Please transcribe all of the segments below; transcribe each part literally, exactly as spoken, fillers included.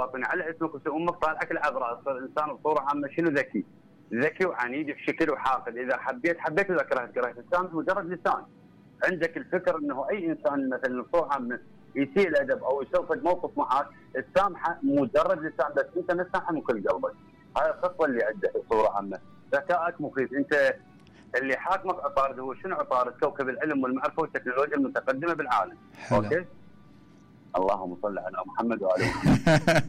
الباطني على اسمك واسم امك طالعك العذراء، تصير انسان بصوره عامه شنو ذكي، ذكي وعنيد بشكل وحاقد، اذا حبيت حبيت واذا كرهت كرهت، لسانك مجرد لسان. عندك الفكر انه اي انسان مثلا بصوره عامه يسيء الادب او يسوي موقف معك تسامحه مجرد لسان، بس انت ما تسامحه من كل قلبك. هاي الخطوه اللي عندك بصوره عامه. ذكائك مخيف. انت اللي حاكمك عطارد هو شنو عطارد؟ كوكب العلم والمعرفه والتكنولوجيا المتقدمه بالعالم. حلو. اوكي. اللهم صل على محمد وعلى محمد.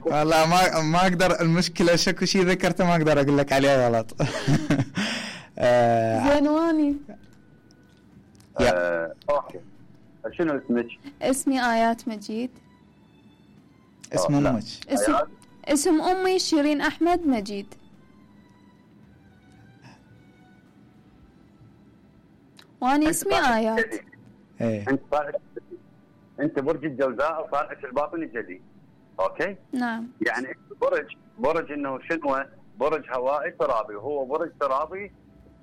والله ما ما اقدر، المشكله شكو شيء ذكرته ما اقدر اقول لك عليه غلط. زينواني. آه، اوكي. شنو اسمك؟ اسمي آيات مجيد. اسم امك؟ اسم اسم امي شيرين احمد مجيد. واني اسمي آيات. ايه. انت طالعك انت برج الجوزاء وطالعك الباطني الجدي. اوكي؟ نعم. يعني برج برج انه شنو؟ برج هوائي ترابي، وهو برج ترابي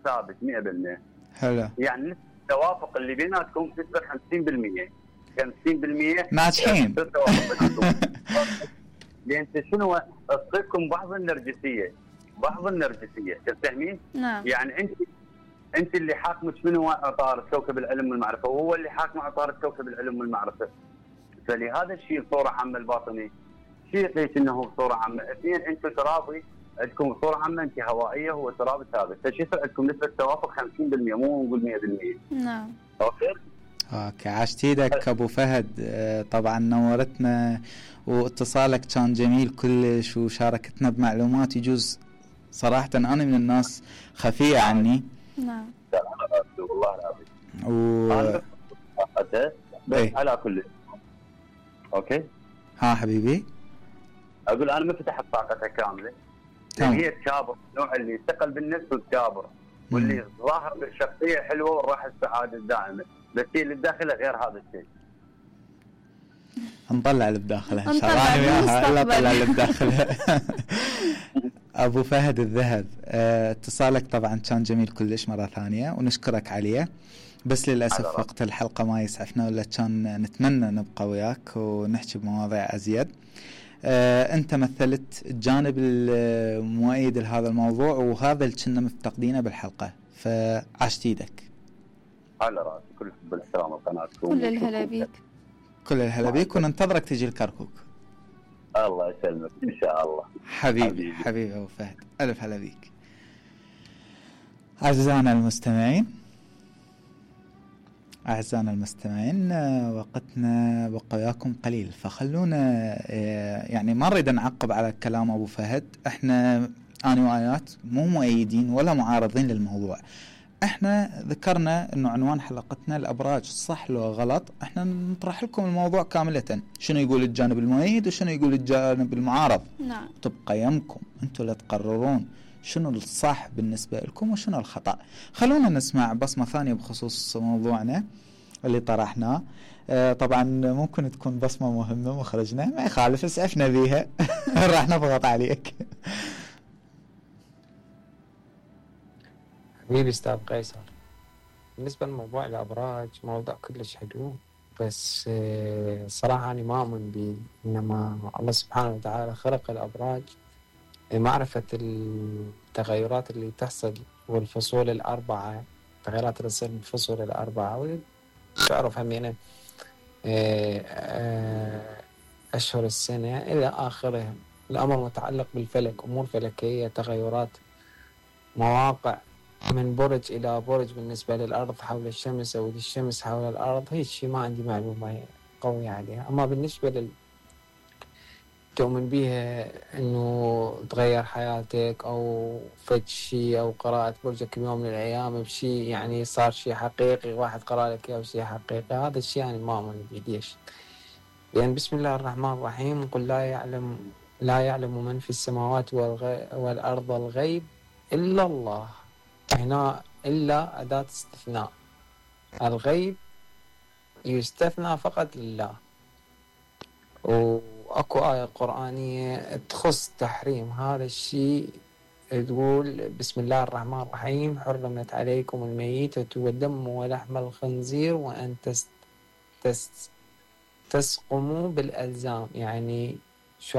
ثابت مئة بالمئة. حلو. يعني التوافق اللي بيناتكم نسبة خمسين بالمئة خمسين بالمئة ناجحين. لان شنو تصيبكم بعض النرجسيه، بعض النرجسيه، تفهمين؟ نعم. يعني انت انت اللي حاكمك منو؟ عطارد كوكب العلم والمعرفه، وهو اللي حاكم عطارد كوكب العلم والمعرفه. فلهذا الشيء بصوره عامه الباطني شيء ليش انه بصوره عامه، اثنين انتم ترابي عندكم بصوره عامه، انت هوائيه هو ترابي ثابت، فشي يصير عندكم نسبه توافق خمسين بالمئة مو نقول مئة بالمئة. نعم. اوكي. اوكي عاشت ايدك ابو فهد. طبعا نورتنا واتصالك كان جميل كلش وشاركتنا بمعلومات يجوز صراحه انا من الناس خفيه عني. نعم. والله العظيم. و بس على كل. اوكي. ها حبيبي. اقول انا ما فتحت طاقتها كامله. تمام. هي تكابر، النوع اللي يثقل بالنفس وتكابر، واللي ظاهر بالشخصيه حلوه والراحه السعاده الدائمه، بس هي اللي بداخلها غير هذا الشيء. نطلع اللي بداخلها ان شاء الله. انا وياها الا طلع اللي بداخلها. ابو فهد الذهب، اه اتصالك طبعا كان جميل كلش مره ثانيه ونشكرك عليه، بس للاسف وقت الحلقه ما يسعفنا، ولا كان نتمنى نبقى وياك ونحكي بمواضيع ازيد. اه انت مثلت الجانب المؤيد لهذا الموضوع، وهذا اللي كنا مفتقدينه بالحلقه، فعشت ايدك. على راسي، كل الحب والاحترام لقناتكم. كل الهلا بيك. كل الهلا بيك، وننتظرك تجي الكركوك. الله يسلمك ان شاء الله. حبيبي حبيبي, حبيبي ابو فهد، الف هلا بيك. اعزائنا المستمعين اعزائنا المستمعين وقتنا بقى وياكم قليل، فخلونا يعني ما نريد نعقب على كلام ابو فهد. احنا انا وايات مو مؤيدين ولا معارضين للموضوع، احنا ذكرنا انه عنوان حلقتنا الابراج صح لو غلط، احنا نطرح لكم الموضوع كاملة، شنو يقول الجانب المؤيد وشنو يقول الجانب المعارض. نعم. تبقى يمكم انتم اللي تقررون شنو الصح بالنسبة لكم وشنو الخطأ. خلونا نسمع بصمة ثانية بخصوص موضوعنا اللي طرحناه. اه طبعا ممكن تكون بصمة مهمة مخرجنا، ما يخالف اسعفنا بيها. راح نضغط عليك. حبيبي استاذ قيصر، بالنسبة لموضوع الأبراج موضوع كلش حلو، بس صراحة أنا ما أؤمن به، إنما الله سبحانه وتعالى خلق الأبراج لمعرفة التغيرات اللي تحصل والفصول الأربعة، التغيرات اللي تصير بالفصول الأربعة، وتعرف همينة أشهر السنة إلى آخره. الأمر متعلق بالفلك، أمور فلكية، تغيرات مواقع من برج إلى برج بالنسبة للأرض حول الشمس أو للشمس حول الأرض، هي الشيء ما عندي معلومة قوية عليها. أما بالنسبة لل تؤمن بيها إنه تغير حياتك أو فد شيء أو قراءة برجك بيوم من الأيام بشيء يعني صار شيء حقيقي، واحد قرأ لك إياه شيء حقيقي، هذا الشيء يعني ما أؤمن بيه. ليش؟ لأن بسم الله الرحمن الرحيم قل لا يعلم لا يعلم من في السماوات والأرض الغيب إلا الله. هنا إلا أداة استثناء، الغيب يستثنى فقط لله. وأكو آية قرآنية تخص تحريم هذا الشيء، تقول بسم الله الرحمن الرحيم حرمت عليكم الميتة والدم ولحم الخنزير وأن تس تس تسقموا بالألزام. يعني شو